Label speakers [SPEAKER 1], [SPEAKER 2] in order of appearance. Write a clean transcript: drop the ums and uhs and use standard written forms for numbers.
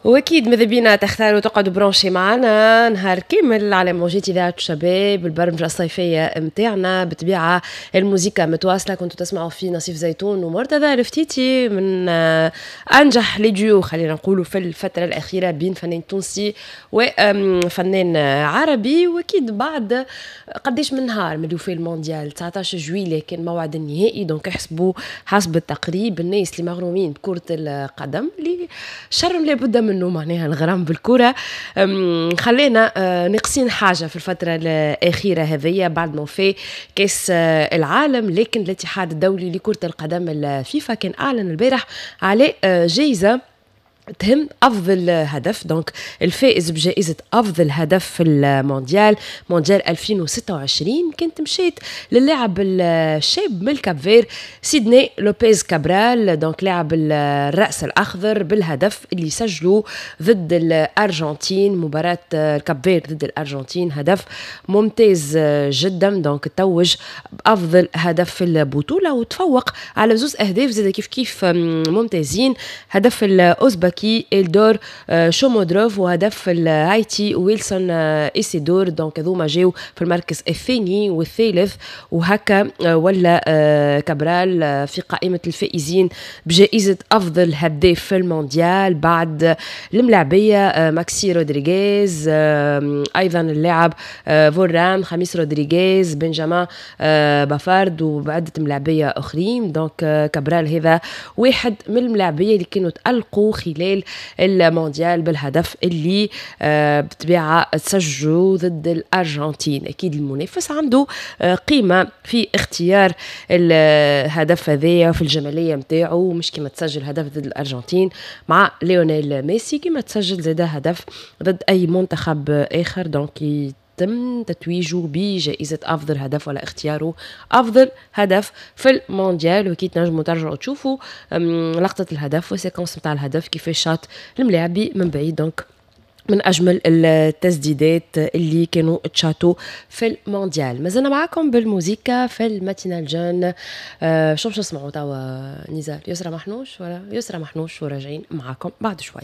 [SPEAKER 1] واكيد ماذا بينا تختاروا تقعدوا branchés معنا نهار كامل على موجات اذاعة الشباب، البرمجة الصيفية نتاعنا. بالطبيعة الموسيقى متواصله، كنتوا تسمعوا في نصيف زيتون ومرتضى الفتيتي، من انجح les duos خلينا نقولوا في الفترة الاخيرة بين فنان تونسي وفنان عربي. واكيد بعد قديش من نهار من في المونديال، 19 جويلية كان موعد النهائي، donc احسبوا حسب التقريب الناس اللي مغرومين بكره القدم، اللي شر لابد منه معناها الغرام بالكره، خلينا ناقصين حاجة في الفترة الاخيرة هذيا بعد ما في كاس العالم. لكن الاتحاد الدولي لكرة القدم الفيفا كان اعلن البارح على جائزة تهم افضل هدف، donc الفائز بجائزة افضل هدف في المونديال، مونديال 2026، كانت مشيت للاعب الشاب من الكاب فير سيدني لوبيز كابرال، donc لاعب الراس الاخضر، بالهدف اللي سجلوا ضد الارجنتين، مباراة الكاب فير ضد الارجنتين، هدف ممتاز جدا، donc توج بافضل هدف في البطولة وتفوق على زوز اهداف زاد كيف كيف ممتازين، هدف الاوزبكي إلدور شومودروف وهدف الهايتي ويلسون إيسيدور. donc هذوما جاو في المركز الثاني والثالث، وهكا ولا كابرال في قائمة الفائزين بجائزة أفضل هداف في المونديال بعد الملاعبية ماكسي رودريغيز، أيضا اللاعب فوران، خميس رودريغيز، بنجامان بافارد وبعدة ملاعبية أخرين. donc كابرال هذا واحد من الملاعبية اللي كانوا تألقوا خلال المونديال بالهدف اللي بالطبيعة تسجلوا ضد الأرجنتين. أكيد المنافس عنده قيمة في اختيار الهدف هذايا في الجمالية نتاعو، مش كما تسجل هدف ضد الأرجنتين مع ليونيل ميسي كما تسجل زاد هدف ضد أي منتخب آخر، donc يتم تتويجه بجائزة أفضل هدف ولا اختياره أفضل هدف في المونديال. وكي تنجموا ترجعوا تشوفوا لقطة الهدف وال séquence نتاع الهدف كيفاش شاط الملاعبي من بعيد، donc من اجمل التسديدات اللي كانوا تشاتو في المونديال. مازلنا معاكم بالموزيكا في ال matinale jeune. شو باش نسمعوا توا نزار؟ يسرا محنوش ولا يسرا محنوش، وراجعين معاكم بعد شويه.